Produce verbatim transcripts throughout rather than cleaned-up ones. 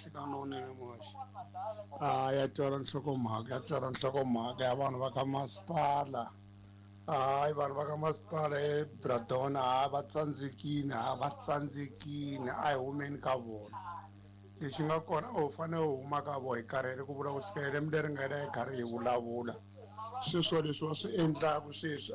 Nhlikani lowunene muhaxi. A ya twala nhlokomhaka ya twala nhlokomhaka ya vanhu va ka masipala. Hayi vanhu va ka masipala eBradona ha va tsandzekile ha va tsandzekile a hi humeni ka vona. Lexi nga kona u fanele u huma ka vona hi karhele ku vula ku sukela lembe leri nga hela hi karhi hi vulavula. Sweswo leswi va swi endlaka sweswi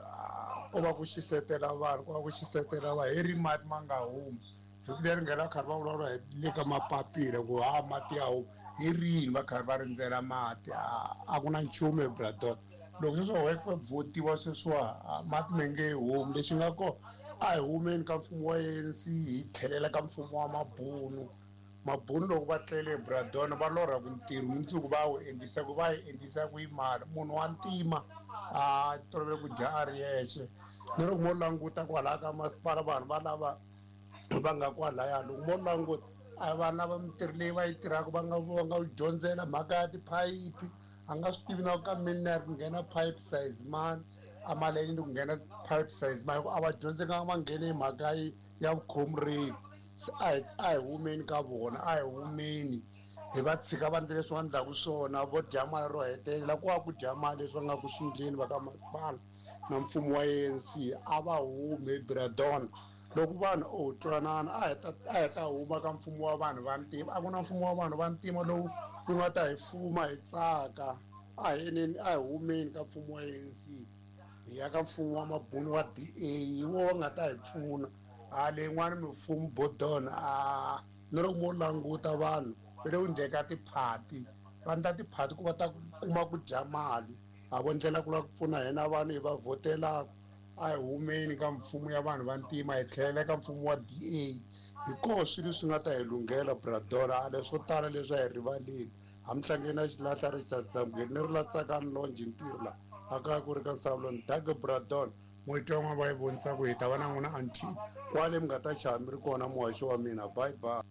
ko va ku xisetela vanhu ko va ku xisetela vanhu hi ri mati ma nga humi. Vhiki leri nga hela karhi va vulavula hi le ka mapapila ku ha mati ya huma hi rini va karhi va rindzela mati a ku na nchumu eBradona. Loko sweswi wa ku votiwa sweswiwa mati ma nge humi lexi nga kona a hi humeni ka mfumo wa A N C hi tlhelela ka mfumo wa mabunu. Mabunu loko va tlele eBradona va lorha ku ntirho mundzuku va wu endlisa ku va yi endlisa ku yi mali munhu wa ntima a tolovele ku dya a ri yexe na loko mo languta kwalaya ka masipala vanhu va lava va nga kwalaya loko mo languta a vanhu lava mintirho leyi va yi tirhaka va nga va nga dyondzela mhaka ya tiphayiphi a nga swi tivi na ka mina ku nghena pipe size mani a maleni ku nghena pipe size mani a va dyondzekanga va nghene hi mhaka ya vukhomredi. Se a hi a hi humeni ka vona a hi humeni hi va tshika va endla leswi va endlaka swona vo dya mali ro hetelela ku va ku dya mali leswi va nga ku swi endleni va ka masipala na mfumo wa A N C a va humi eBradona. Loko vanhu o twanana a hi ta a hi ta huma ka mfumo wa vanhu va ntima a ku na mfumo wa vanhu va ntima lowu wu nga ta hi fuma hi tsaka a hi eneni a hi humeni ka mfumo wa A N C hi ya ka mfumo wa mabunu wa D A hi wo va nga ta hi pfuna. A leyin'wani mimfumo bodona a na loko mo languta vanhu va le ku endleni ka tiphati va endla tiphati ku va ta kuma ku dya mali a vo ndlela ku lava ku pfuna hina vanhu hi va vhotelaka. A hi humeni ka mfumo ya vanhu va ntima hi tlhelela ka mfumo wa D A hi koho swilo leswi nga ta hi lunghela Bradona a leswo tala leswi a hi rivaleni hamtlangeni na xilahla Richard Zambukeni ni ri la Tsakani Longe ntirho la a kaya ku ri ka Nsavuloni Dage Bradona n'wheti wa va yi vonisa ku hi ta va na n'wina until kwale mi nga ta chava mi ri kona muhaxi wa mina. Bye bye.